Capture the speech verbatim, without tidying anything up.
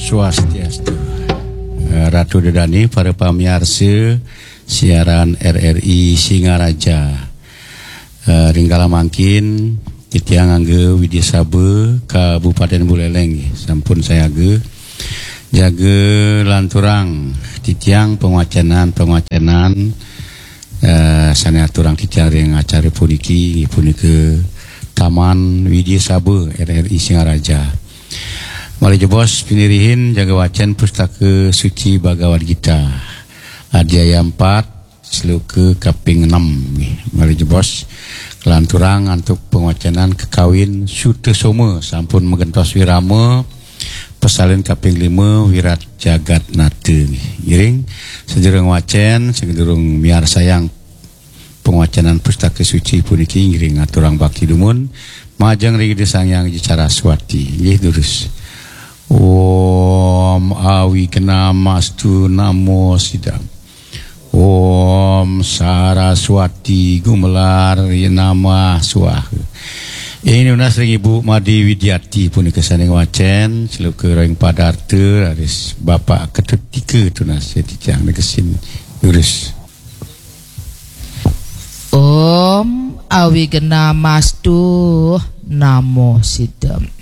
Swastiastu. Eh, Ratu Dedani, para pamiarsa siaran R R I Singaraja. Eh, ring kala mangkin titiang ngangge Widya Saba Kabupaten Buleleng nggih, sampun sayaga. Jaga lanturang titiang pangwacenan-pangwacenan eh, sane aturang titiang ring acara puniki, inggih punika Taman Widya Saba R R I Singaraja. Malih jebos pinirihin jaga wacen Pustaka Suci Bhagavad Gita. Adhyaya empat, sloka kaping enam nggih. Malih jebos kalanturang antuk pangwacenan kakawin Sutasoma sampun magentos wirama, pasalin kaping lima Wirat Jagat Nata nggih. Ngiring sadurung wacen, sadurung miarsayang pangwacenan Pustaka Suci puniki, ngiring aturang bakti dumun majeng ring Ida Sang Hyang Widi Saraswati. Nggih, durus. Om Awignamastu Namo Sidam. Om Saraswati Gumelar Namah Swaha. Ini nunas ring Ibu Made Widiati punika sane ngwacen, sloka ring padarta, raris Bapak Ketut Tika tunas titiang negesin, durus. Om Awignamastu Namo Sidam.